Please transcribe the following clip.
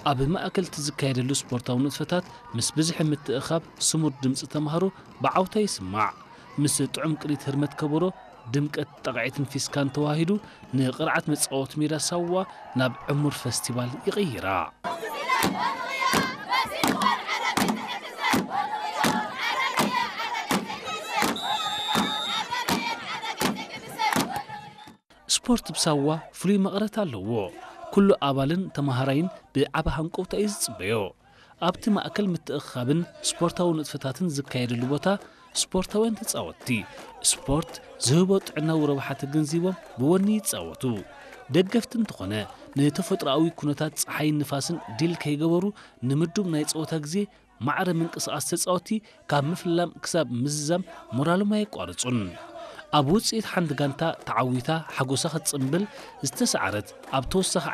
ኣብ ማእከል እቲ ዝካየደሉ ስፖርታዊ ንጥፈታት፣ ምስ ብዝሒ ምትእኻብ ስሙር ድምጺ ተማሃሮ ብዓውታ ይስማዕ። ምስ ጥዑም ቅኒት ህርመት ከበሮ፣ ድምቀት ጣቕዒትን ፊስካን ተዋሂዱ፣ ንቕርዓት መጻወቲ ሜዳ ሳዋ ናብ ዕሙር ፈስቲቫል ይቕይራ። ስፖርት ብሳዋ ፍሉይ መቐረት ኣለዎ። ኩሉ ኣባልን ተማሃራይን ብዓቢ ሃንቀውታ እዩ ዝጽበዮ። ኣብቲ ማእከል ምትእኽኻብን ስፖርታዊ ንጥፈታትን ዝካየደሉ ቦታ፣ ስፖርታውያን ተጻወትቲ፣ ስፖርት ዝህቦ ጥዕናዊ ረብሓ ተገንዚቦም ብወኒ ይጻወቱ። ደገፍቲ እንተኾነ፣ ንተፈጥሮኣዊ ኩነታት ጸሓይን ንፋስን ዲል ከይገበሩ፣ ንምዱብ ናይ ጸወታ ግዜ ማዕረ ምንቅስቓስ ተጻወትቲ ካብ ምፍላም ክሳብ ምዝዛም ሞራሎም ኣየቋርጹን። ኣብ ውጽኢት ሓንቲ ጋንታ ተዓዊታ ሓጎሳ ክትጽንብል ዝተሰዓረት፣ ኣብ ተወሳኺ